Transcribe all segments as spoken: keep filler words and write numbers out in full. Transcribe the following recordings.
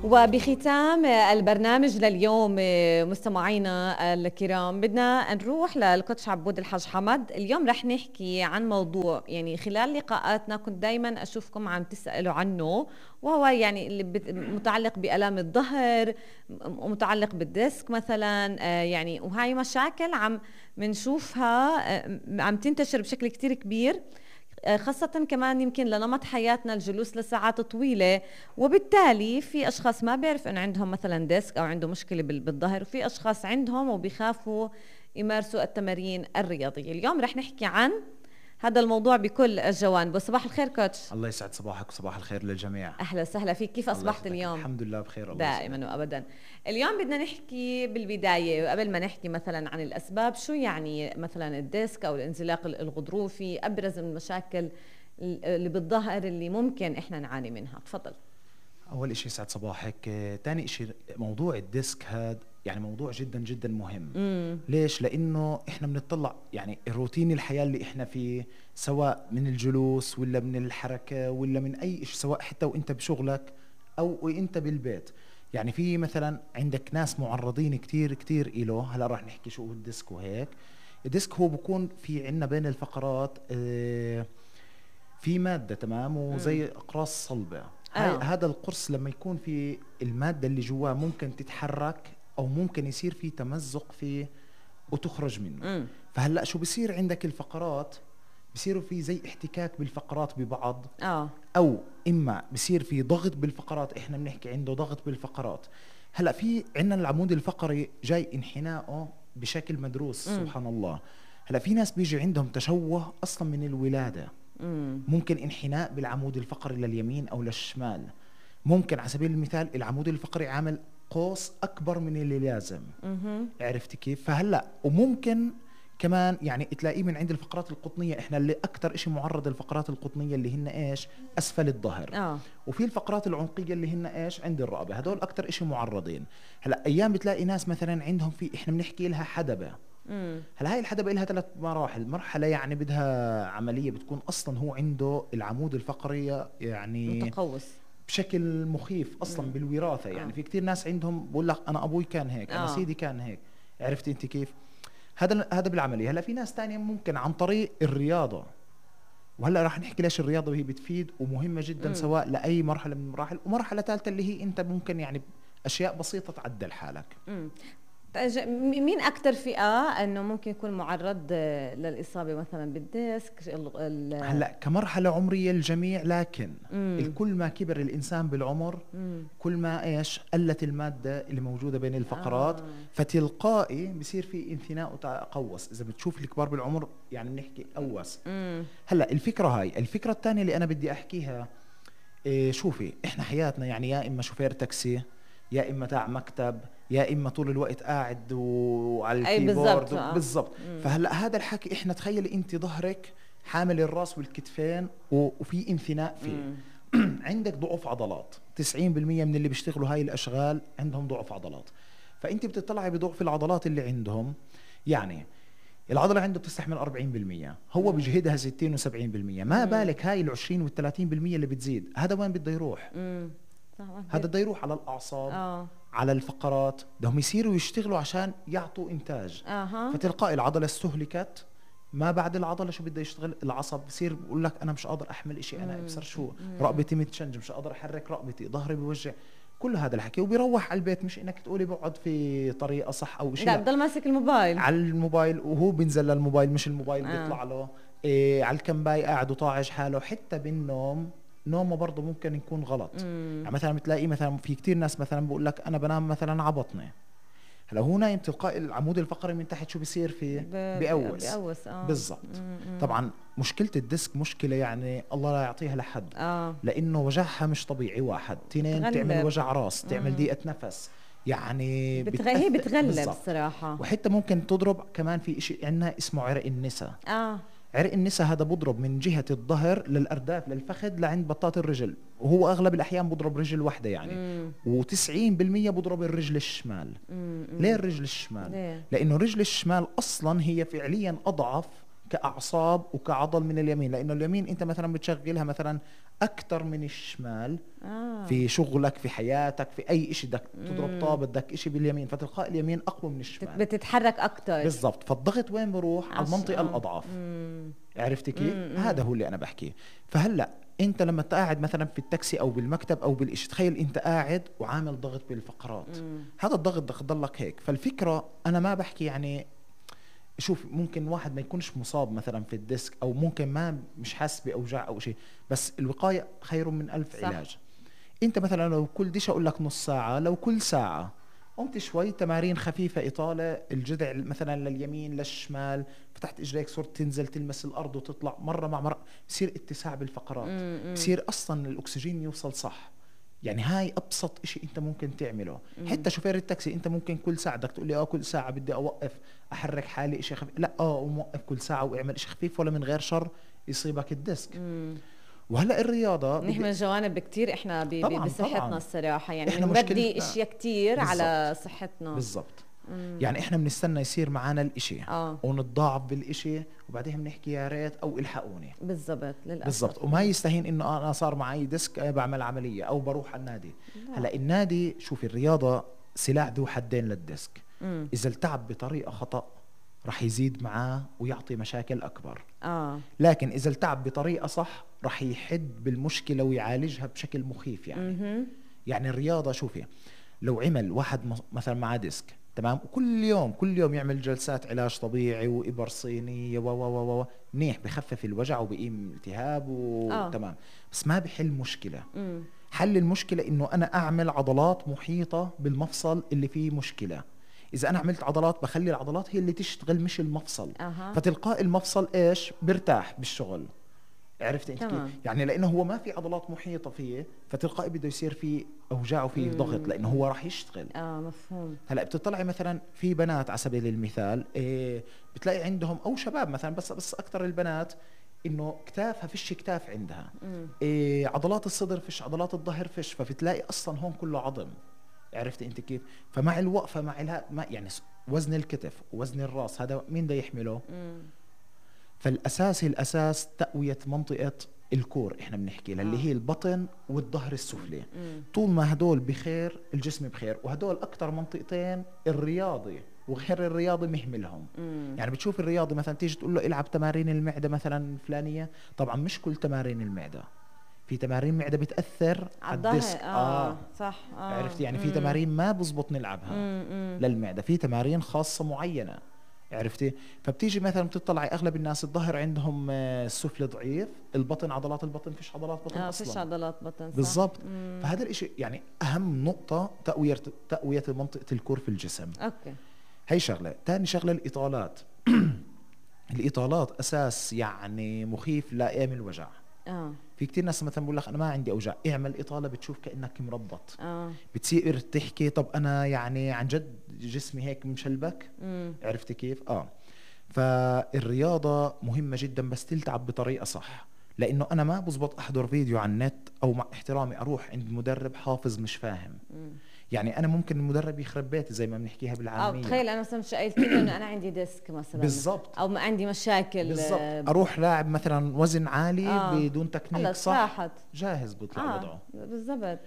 وبختام البرنامج لليوم مستمعينا الكرام بدنا نروح للكوتش عبود الحاج حمد. اليوم رح نحكي عن موضوع يعني خلال لقاءاتنا كنت دايما أشوفكم عم تسألوا عنه، وهو يعني اللي متعلق بألام الظهر، متعلق بالديسك مثلا، يعني وهاي مشاكل عم منشوفها عم تنتشر بشكل كتير كبير، خاصة كمان يمكن لنمط حياتنا الجلوس لساعات طويلة، وبالتالي في أشخاص ما بيعرف أنه عندهم مثلا ديسك أو عنده مشكلة بالظهر، وفي أشخاص عندهم وبيخافوا يمارسوا التمارين الرياضية. اليوم رح نحكي عن هذا الموضوع بكل الجوانب. صباح الخير كوتش. الله يسعد صباحك وصباح الخير للجميع. أهلا وسهلا فيك، كيف أصبحت اليوم؟ الحمد لله بخير الله دائما يسعدك. وأبدا. اليوم بدنا نحكي بالبداية قبل ما نحكي مثلا عن الأسباب، شو يعني مثلا الديسك أو الانزلاق الغضروفي، أبرز المشاكل اللي بالظهر اللي ممكن إحنا نعاني منها. تفضل. أول إشي يسعد صباحك. تاني إشي موضوع الديسك هذا يعني موضوع جدا جدا مهم. مم. ليش؟ لأنه إحنا بنطلع يعني الروتين الحياة اللي إحنا فيه، سواء من الجلوس ولا من الحركة ولا من أي إشي، سواء حتى وإنت بشغلك أو وإنت بالبيت. يعني في مثلا عندك ناس معرضين كتير كتير إله. هلا راح نحكي شو هو الديسك وهيك. الديسك هو بكون في عنا بين الفقرات آه في مادة تمام وزي أقراص صلبة. آه. هذا القرص لما يكون في المادة اللي جواه ممكن تتحرك أو ممكن يصير في تمزق فيه وتخرج منه. مم. فهلأ شو بصير عندك الفقرات بصيروا في زي احتكاك بالفقرات ببعض. آه. أو إما بصير في ضغط بالفقرات، إحنا بنحكي عنده ضغط بالفقرات. هلأ في عنا العمود الفقري جاي انحناءه بشكل مدروس. مم. سبحان الله. هلأ في ناس بيجي عندهم تشوه أصلا من الولادة. مم. ممكن انحناء بالعمود الفقري لليمين أو للشمال. ممكن على سبيل المثال العمود الفقري عامل قوس أكبر من اللي لازم. مم. عرفت كيف؟ فهلأ وممكن كمان يعني تلاقيه من عند الفقرات القطنية. إحنا اللي أكتر إشي معرض الفقرات القطنية اللي هن إيش؟ أسفل الظهر. آه. وفي الفقرات العنقية اللي هن إيش؟ عند الرقبة. هدول أكتر إشي معرضين. هلأ أيام بتلاقي ناس مثلا عندهم في إحنا بنحكي لها حدبة. هلا هاي الحدبة لها ثلاث مراحل. مرحلة يعني بدها عملية بتكون أصلا هو عنده العمود الفقري يعني متقوس بشكل مخيف أصلا. مم. بالوراثة يعني. آه. في كتير ناس عندهم بقول لك أنا أبوي كان هيك. آه. أنا سيدي كان هيك. عرفتي أنت كيف؟ هذا هذا بالعملية. هلا في ناس تانية ممكن عن طريق الرياضة، وهلا راح نحكي ليش الرياضة وهي بتفيد ومهمة جدا. مم. سواء لأي مرحلة من المراحل. ومرحلة ثالثة اللي هي أنت ممكن يعني أشياء بسيطة تعدل حالك. مم. مين أكتر فئة أنه ممكن يكون معرض للإصابة مثلا بالديسك؟ هلا كمرحلة عمرية الجميع، لكن مم. كل ما كبر الإنسان بالعمر مم. كل ما إيش قلت المادة اللي موجودة بين الفقرات. آه. فتلقائي بصير في انثناء وتقوس. إذا بتشوف الكبار بالعمر يعني بنحكي قوس. مم. هلا الفكرة هاي. الفكرة الثانية اللي أنا بدي أحكيها إيه، شوفي إحنا حياتنا يعني يا إما شوفير تاكسي، يا إما تاع مكتب، يا إما طول الوقت قاعد وعلى الكيبورد. بالضبط. فهلأ هذا الحكي إحنا تخيلي أنت ظهرك حامل الراس والكتفين وفي انثناء فيه. عندك ضعف عضلات. تسعين بالمية من اللي بيشتغلوا هاي الأشغال عندهم ضعف عضلات. فأنت بتطلعي بضعف العضلات اللي عندهم. يعني العضلة عنده بتستحمل أربعين بالمية، هو بيجهدها ستين وسبعين بالمية. ما بالك هاي العشرين والثلاثين بالمية اللي بتزيد. هذا وين بده يروح؟ مم. هذا بده يروح على الأعصاب. آه. على الفقرات. بدهم يصيروا يشتغلوا عشان يعطوا إنتاج. آه. فتلقائي العضلة استهلكت. ما بعد العضلة شو بده يشتغل؟ العصب بصير بقول لك أنا مش قادر أحمل إشي. أنا أبصر شو مم. رقبتي متشنج، مش قادر أحرك رقبتي، ظهري بيوجع. كل هذا الحكي وبيروح على البيت مش إنك تقولي بقعد في طريقة صح أو شيء. لا بضل ماسك الموبايل على الموبايل، وهو بينزل للموبايل مش الموبايل آه. بيطلع له. إيه على الكنباي قاعد وطاعج حاله. حتى بالنوم نومه برضه ممكن يكون غلط. يعني مثلا بتلاقي مثلا في كتير ناس مثلا بقول لك انا بنام مثلا على بطني. هلا هو نايم تلقائي العمود الفقري من تحت شو بيصير فيه؟ بيقوس. بيقوس. آه. بالضبط. طبعا مشكلة الديسك مشكلة يعني الله لا يعطيها لحد. آه. لانه وجعها مش طبيعي. واحد اثنين تعمل وجع راس، تعمل ضيقة نفس يعني بتغ... هي بتغلب الصراحة. وحتى ممكن تضرب كمان في إشي عندنا اسمه عرق النساء. اه عرق النساء هذا بضرب من جهة الظهر للأرداف للفخذ لعند بطاط الرجل، وهو أغلب الأحيان بضرب رجل واحدة يعني. وتسعين بالمية بضرب الرجل الشمال. مم. ليه الرجل الشمال؟ ليه؟ لأنه الرجل الشمال أصلا هي فعليا أضعف كأعصاب وكعضل من اليمين. لأنه اليمين أنت مثلا بتشغلها مثلا اكتر من الشمال. آه. في شغلك، في حياتك، في اي اشي بدك تضرب طابة، بدك اشي باليمين، فتلقائي اليمين اقوى من الشمال، بتتحرك اكتر. بالضبط. فالضغط وين بروح؟ على المنطقة آه. الاضعف. مم. عرفتي كيف؟ مم. هذا هو اللي انا بحكيه. فهلا انت لما قاعد مثلا في التاكسي او بالمكتب او بالإشي، تخيل انت قاعد وعامل ضغط بالفقرات. مم. هذا الضغط بدك تضلك هيك. فالفكرة انا ما بحكي يعني، شوف ممكن واحد ما يكونش مصاب مثلا في الديسك، او ممكن ما مش حاسس باوجاع او شيء، بس الوقاية خير من الف صح. علاج. انت مثلا لو كل ديش اقول لك نص ساعة، لو كل ساعة قمت شوي تمارين خفيفة، إطالة الجذع مثلا لليمين للشمال، فتحت إجريك، صرت تنزل تلمس الأرض وتطلع مرة مع مرة، بصير اتساع بالفقرات، بصير أصلا الأكسجين يوصل صح. يعني هاي أبسط إشي أنت ممكن تعمله. مم. حتى شوفير التاكسي أنت ممكن كل ساعة بدك تقول لي آه كل ساعة بدي أوقف أحرك حالي إشي خفيف، لا آه وموقف كل ساعة وإعمل إشي خفيف، ولا من غير شر يصيبك الديسك. مم. وهلا الرياضة نحمل جوانب كتير احنا بصحتنا طبعاً. الصراحة يعني بنبدي اشياء كتير بالزبط. على صحتنا بالضبط. يعني احنا بنستنى يصير معنا الاشي آه. ونتضاعف بالاشي، وبعدين بنحكي يا ريت او الحقوني. بالضبط للاسف. بالضبط. وما يستهين انه انا صار معي ديسك بعمل عملية او بروح على النادي. لا. هلا النادي، شوفي الرياضة سلاح ذو حدين للديسك. مم. اذا التعب بطريقة خطأ رح يزيد معاه ويعطي مشاكل أكبر. آه. لكن إذا التعب بطريقة صح رح يحد بالمشكلة ويعالجها بشكل مخيف. يعني م-م. يعني الرياضة، شوفي لو عمل واحد مثلا مع ديسك تمام، وكل يوم كل يوم يعمل جلسات علاج طبيعي وإبر صينية و و و منيح، بخفف الوجع وبقيم التهاب وتمام، بس ما بحل مشكلة. م. حل المشكلة إنه أنا أعمل عضلات محيطة بالمفصل اللي فيه مشكلة. إذا أنا عملت عضلات بخلي العضلات هي اللي تشتغل مش المفصل. أه. فتلقاء المفصل إيش برتاح بالشغل. عرفت أنت كيف؟ يعني لأنه هو ما في عضلات محيطة فيه، فتلقائي بده يصير فيه أوجاع وفيه ضغط، لأنه هو راح يشتغل. آه مفهوم. هلأ بتطلعي مثلا في بنات على سبيل المثال إيه، بتلاقي عندهم أو شباب مثلا، بس بس أكتر البنات إنه كتافها فيش كتاف عندها. إيه، عضلات الصدر فيش، عضلات الظهر فيش، فبتلاقي أصلا هون كله عظم. عرفت انت كيف؟ فمع الوقفه مع الها ما يعني وزن الكتف ووزن الراس هذا مين ده يحمله؟ مم. فالاساس الاساس تقويه منطقه الكور، احنا بنحكي للي آه. هي البطن والظهر السفلي. مم. طول ما هدول بخير الجسم بخير، وهدول اكثر منطقتين الرياضي وغير الرياضي مهملهم. مم. يعني بتشوف الرياضي مثلا تيجي تقول له العب تمارين المعده مثلا فلانيه، طبعا مش كل تمارين المعده، في تمارين معدة بتأثر على الديسك. آه. آه صح. آه. عرفتي يعني في تمارين ما بزبط نلعبها مم. للمعدة، في تمارين خاصة معينة. عرفتي؟ فبتيجي مثلا بتطلعي أغلب الناس الظهر عندهم السفلي ضعيف، البطن عضلات البطن فيش عضلات بطن آه أصلا. فيش عضلات بطن. بالضبط. فهذا الإشي يعني أهم نقطة تقوية تقوية منطقة الكور في الجسم. أوكي. هي شغلة. تاني شغلة الإطالات. الإطالات أساس يعني مخيف لأيام الوجع. آه. في كتير ناس مثلا بقول لك انا ما عندي اوجاع، اعمل اطاله بتشوف كانك مربط. آه. بتصير تحكي طب انا يعني عن جد جسمي هيك مشلبك. مم. عرفتي كيف؟ اه فالرياضه مهمه جدا، بس تلتعب بطريقه صح. لانه انا ما بزبط احضر فيديو على النت او مع احترامي اروح عند مدرب حافظ مش فاهم. مم. يعني انا ممكن المدرب يخرب بيتي زي ما بنحكيها بالعاميه. اه تخيل انا مثلا مش قايلت له انه انا عندي ديسك مثلا بالضبط، او ما عندي مشاكل بالضبط، اروح لاعب مثلا وزن عالي آه. بدون تكنيك صح راحت. جاهز بيطلع آه. وضعه بالضبط.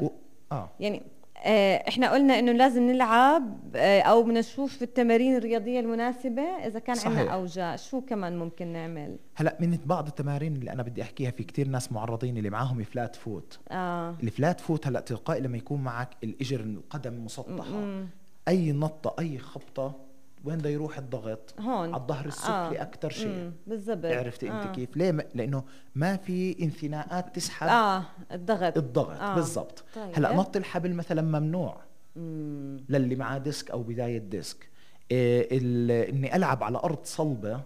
و... اه يعني آه احنا قلنا انه لازم نلعب آه او بدنا نشوف في التمارين الرياضيه المناسبه اذا كان عندنا اوجاع. شو كمان ممكن نعمل؟ هلا من بعض التمارين اللي انا بدي احكيها، في كتير ناس معرضين اللي معاهم فلات فوت. اه الفلات فوت هلا تلقائي لما يكون معك الاجر القدم مسطحه م-م. اي نطه اي خبطه وين بده يروح الضغط؟ هون على الظهر السفلي. آه. اكثر شيء. بالضبط. عرفتي آه. انت كيف؟ ليه؟ م... لانه ما في انثناءات تسحب اه الضغط الضغط آه. بالضبط. طيب. هلا نط الحبل مثلا ممنوع مم. للي معاه ديسك او بدايه ديسك. إيه ال... اني العب على ارض صلبه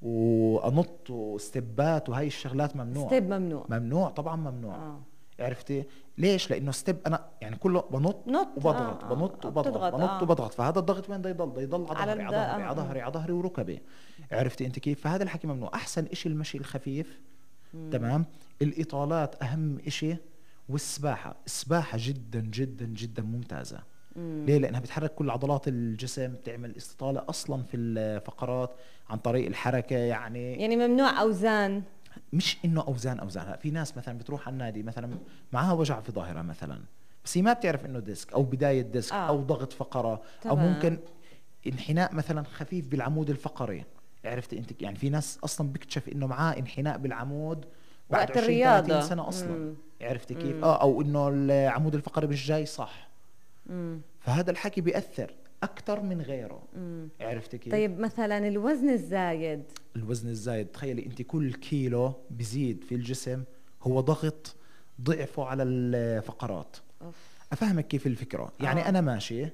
وانط وستبات وهي الشغلات ممنوع. ستيب ممنوع. ممنوع طبعا ممنوع. آه. عرفتي ليش؟ لانه ستيب انا يعني كله بنط نط وبضغط آه. بنط وبضغط بنط آه. وبضغط، فهذا الضغط وين بده يضل؟ بده يضل على ظهري على ظهري على ظهري على ظهري وركبي. عرفتي انت كيف؟ فهذا الحكي ممنوع. احسن إشي المشي الخفيف. مم. تمام. الاطالات اهم إشي، والسباحه. السباحه جدا جدا جدا ممتازه. مم. ليه؟ لانها بتحرك كل عضلات الجسم، تعمل استطاله اصلا في الفقرات عن طريق الحركه. يعني يعني ممنوع اوزان مش انه اوزان اوزان. هلا في ناس مثلا بتروح على النادي مثلا معها وجع في ظهرها مثلا، بس هي ما بتعرف انه ديسك او بدايه ديسك آه. او ضغط فقره او تمام. ممكن انحناء مثلا خفيف بالعمود الفقري. عرفت انت يعني في ناس اصلا بيكتشف انه معاه انحناء بالعمود بعد وقت عشرين الرياضة. ثلاثين سنه اصلا. مم. عرفتي كيف؟ مم. اه او انه العمود الفقري مش جاي صح. مم. فهذا الحكي بيأثر اكثر من غيره. مم. عرفتي كيف؟ طيب مثلا الوزن الزايد. الوزن الزايد تخيلي انت كل كيلو بزيد في الجسم هو ضغط ضعفه على الفقرات. أوف. افهمك كيف الفكره. يعني آه. انا ماشي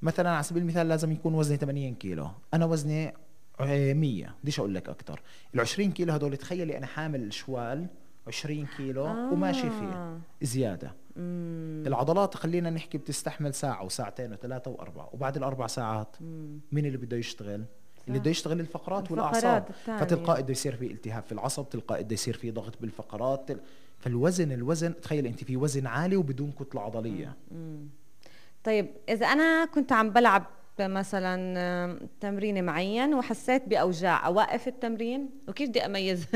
مثلا على سبيل المثال لازم يكون وزني ثمانين كيلو، انا وزني آه، مية. بديش اقول لك اكثر. ال عشرين كيلو هدول تخيلي انا حامل شوال عشرين كيلو آه. وماشي فيه زياده. مم. العضلات خلينا نحكي بتستحمل ساعه وساعتين وثلاثه واربعه، وبعد الاربع ساعات مم. مين اللي بده يشتغل؟ صح. اللي بده يشتغل الفقرات, الفقرات والاعصاب. التانية. فتلقائي بده يصير في التهاب في العصب، تلقائي بده يصير في ضغط بالفقرات. تل... فالوزن الوزن تخيل انت في وزن عالي وبدون كتله عضليه. مم. طيب اذا انا كنت عم بلعب مثلا آم، تمرين معين وحسيت باوجاع، اوقف التمرين؟ وكيف بدي اميز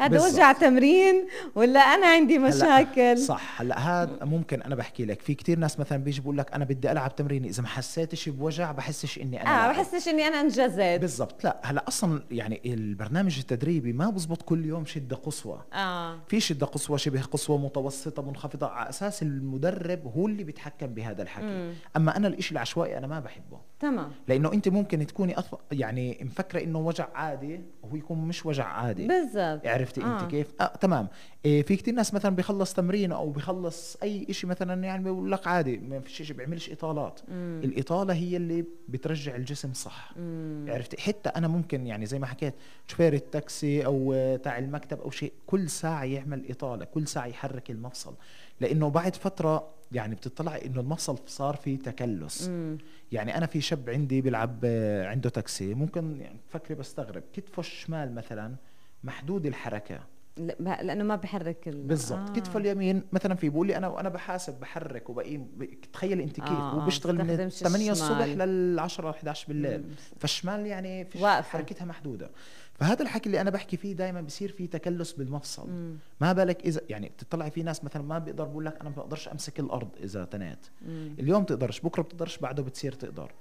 هذا بالضبط. وجع تمرين ولا انا عندي مشاكل؟ هلأ صح. هلا هذا ممكن انا بحكي لك في كتير ناس مثلا بيجي بقول لك انا بدي العب تمرين، اذا ما حسيتش بوجع بحسش اني انا اه لاعب. بحسش اني انا انجزت. بالضبط. لا هلا اصلا يعني البرنامج التدريبي ما بزبط كل يوم شده قصوى. اه في شده قصوى، شبه قصوى، متوسطه، منخفضه، على اساس المدرب هو اللي بيتحكم بهذا الحكي. مم. اما انا الاشي العشوائي انا ما بحبه. تمام. لانه انت ممكن تكوني أص... يعني مفكره انه وجع عادي وهو يكون مش وجع عادي. بالضبط. عرفتي آه. انت كيف؟ آه تمام. إيه في كتير ناس مثلا بيخلص تمرين او بيخلص اي اشي مثلا يعني بيقول لك عادي ما فيش شيء، بيعملش اطالات. مم. الاطاله هي اللي بترجع الجسم صح. مم. عرفتي؟ حتى انا ممكن يعني زي ما حكيت شوفير التاكسي او آه، تاع المكتب او شيء كل ساعه يعمل اطاله، كل ساعه يحرك المفصل، لانه بعد فتره يعني بتطلع انه المفصل صار فيه تكلس. مم. يعني انا في شاب عندي بيلعب آه، عنده تاكسي، ممكن يعني تفكري بستغرب كتفه الشمال مثلا محدود الحركه. لا ب- لانه ما بحرك ال... بالضبط. آه. كتفه اليمين مثلا في بقول لي انا وانا بحاسب بحرك وبقيم ب- تخيل انت كيف آه، هو آه، بيشتغل من بستخدمش ثمانية الصبح الشمال. لل عشرة احد عشر بالليل. مم. فالشمال يعني فيش واقفة. حركتها محدوده. فهذا الحكي اللي انا بحكي فيه دائما بصير فيه تكلس بالمفصل. مم. ما بالك اذا يعني بتطلعي في ناس مثلا ما بيقدر بقول لك انا ما بقدرش امسك الارض اذا تنيت. مم. اليوم تقدرش، بكره بتقدرش، بعده بتصير تقدر.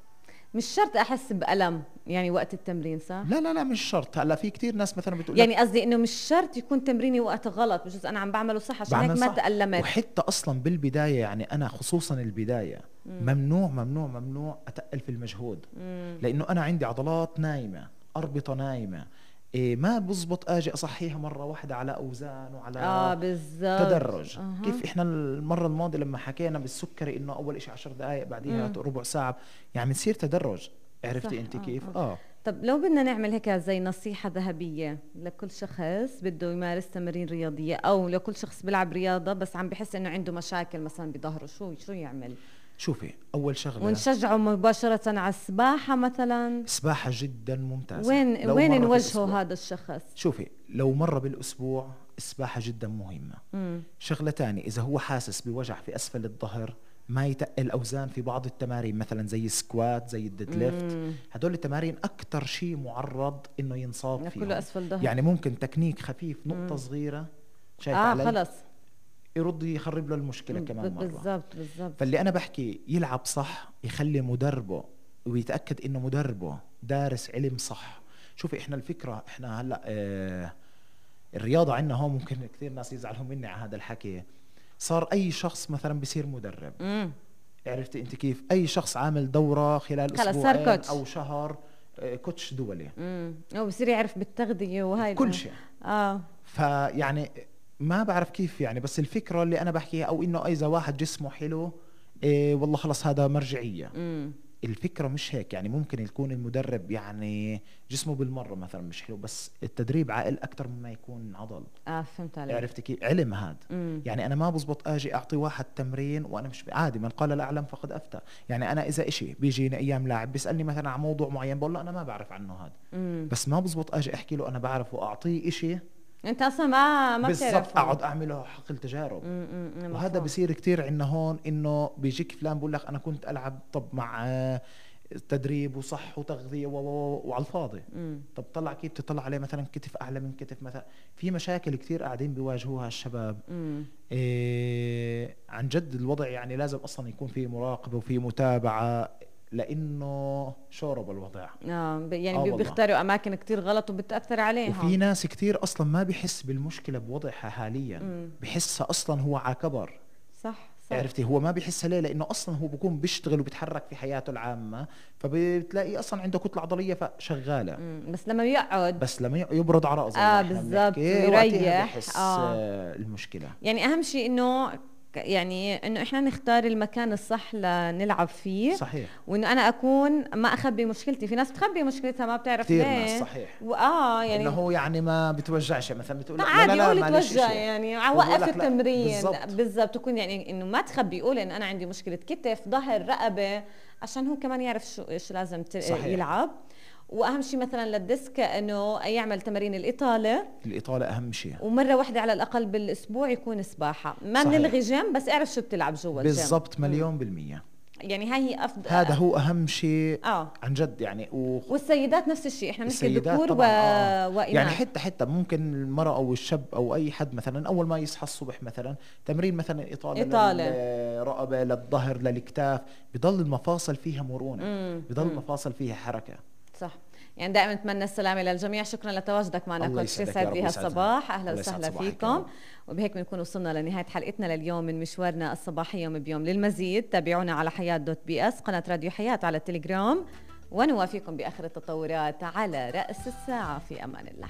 مش شرط احس بالم يعني وقت التمرين، صح؟ لا لا لا مش شرط. هلا في كتير ناس مثلا بتقول يعني قصدي انه مش شرط يكون تمريني وقت غلط، بجوز انا عم بعمله صح عشان هيك بعمل ما صح. تألمت. وحتى اصلا بالبدايه يعني انا خصوصا البدايه مم. ممنوع ممنوع ممنوع اتقل في المجهود. مم. لانه انا عندي عضلات نايمه، اربطه نايمه. إيه ما بزبط اجي اصحيها مره واحده على اوزان وعلى اه بالضبط. تدرج. أها. كيف احنا المره الماضيه لما حكينا بالسكري انه اول شيء عشر دقائق بعديها مم. ربع ساعه، يعني بتصير تدرج. عرفتي صح. انت آه، كيف؟ آه. اه طب لو بدنا نعمل هيك زي نصيحة ذهبية لكل شخص بده يمارس تمارين رياضية، أو لكل شخص بيلعب رياضة بس عم بحس إنه عنده مشاكل مثلا بظهره، شو شو يعمل؟ شوفي اول شغله ونشجعه مباشرة على السباحة مثلا؟ سباحه جدا ممتازه. وين لو وين مرة نوجهه بالأسبوع. هذا الشخص؟ شوفي لو مرة بالأسبوع السباحة جدا مهمة. مم. شغلة تانية إذا هو حاسس بوجع في أسفل الظهر ما يتقل أوزان في بعض التمارين مثلا زي السكوات زي الديد ليفت. مم. هدول التمارين أكتر شيء معرض إنه ينصاب كله فيهم. أسفل ظهر. يعني ممكن تكنيك خفيف نقطة مم. صغيرة شايف اه علي خلص. يرد يخرب له المشكلة كمان مرة. بالضبط بالضبط. فاللي أنا بحكي يلعب صح، يخلي مدربه ويتأكد إنه مدربه دارس علم صح. شوفي إحنا الفكرة إحنا هلأ آه الرياضة عندنا هون ممكن كثير ناس يزعلوا مني على هذا الحكي. صار أي شخص مثلا بصير مدرب. مم. عرفتي أنت كيف؟ أي شخص عامل دورة خلال خلص صار أسبوعين كوتش. أو شهر آه كوتش دولي. امم او بصير يعرف بالتغذية وهاي كل الأمور. شيء. اه فيعني ما بعرف كيف يعني، بس الفكرة اللي أنا بحكيها أو إنه إذا واحد جسمه حلو إيه والله خلص هذا مرجعية. امم الفكرة مش هيك. يعني ممكن يكون المدرب يعني جسمه بالمرة مثلا مش حلو، بس التدريب عائل أكتر مما يكون عضل. اه فهمت عليك. عرفت كيف؟ علم هذا. مم. يعني أنا ما بزبط أجي أعطي واحد تمرين وأنا مش عادي. من قال لا أعلم فقد أفتى. يعني أنا إذا إشي بيجيني أيام لاعب بيسألني مثلا عن موضوع معين بقول له أنا ما بعرف عنه هذا. مم. بس ما بزبط أجي أحكي له أنا بعرف وأعطيه إشي انت اصلا ما ما بالضبط بتعرف. أقعد أعمله حقل تجارب. مم، مم، مم، وهذا مفهوم. بصير كتير عندنا هون انه بيجيك فلان بقول لك انا كنت العب طب مع آه، تدريب وصح وتغذيه و... و... وعلى الفاضي. مم. طب طلع كيف تطلع عليه مثلا كتف اعلى من كتف مثلا، في مشاكل كتير قاعدين بيواجهوها الشباب. إيه عن جد الوضع يعني لازم اصلا يكون في مراقبه وفي متابعه، لانه شورب الوضع. اه ب- يعني آه بي- والله. بيختاروا اماكن كتير غلط وبتاثر عليهم. وفي ناس كتير اصلا ما بيحس بالمشكله بوضعها حاليا، مم. بحسها اصلا هو على كبر. صح صح. عرفتي، هو ما بيحسها ليه؟ لانه اصلا هو بيكون بيشتغل وبيتحرك في حياته العامه، فبتلاقي اصلا عنده كتله عضليه فشغاله. مم. بس لما بيقعد بس لما يبرد على راسه اه بالضبط يريح. بحس آه. آه المشكله. يعني اهم شيء انه ك- يعني انه احنا نختار المكان الصح لنلعب فيه. صحيح. وانه انا اكون ما اخبي مشكلتي، في ناس بتخبي مشكلتها ما بتعرف كثير ليه. ناس صحيح. واه يعني انه هو يعني ما بتوجعش مثلا، بتقول لا عادي لا قولي لا معلش توجع إشي. يعني هو وقف بقول لك لا. التمرين بالضبط. بالضبط. تكون يعني انه ما تخبي، قولي انه انا عندي مشكله كتف ظهر رقبه، عشان هو كمان يعرف شو ايش لازم ت- صحيح. يلعب. واهم شيء مثلا للديسك انه يعمل تمارين الاطاله، الاطاله اهم شيء. ومره واحده على الاقل بالاسبوع يكون سباحه. ما صحيح. نلغي جيم، بس اعرف شو بتلعب جوا الجيم. بالضبط مليون بالمية. يعني هاي هي افضل. هذا هو اهم شيء. اه عن جد يعني. و... والسيدات نفس الشيء، احنا بنحكي السيدات ذكور و... طبعاً آه. واناث. يعني حتى حتى ممكن المرأة او الشاب او اي حد مثلا اول ما يصحى الصبح مثلا تمرين مثلا اطالة, إطالة. للرقبة للظهر للاكتاف، بضل المفاصل فيها مرونة. مم. بضل مم. المفاصل فيها حركة. صح. يعني دائما نتمنى السلامة للجميع. شكرا لتواجدك معنا الله كوتش، يسعدك يسعد يا رب لي ويسعدنا. هالصباح. اهلا الله يسعد وسهلا صباحك يا فيكم. رب. وبهيك بنكون وصلنا لنهاية حلقتنا لليوم من مشوارنا الصباحي يوم بيوم. للمزيد تابعونا على حياة دوت بي اس، قناة راديو حياة على التليجرام، ونوافيكم بآخر التطورات على رأس الساعة. في أمان الله.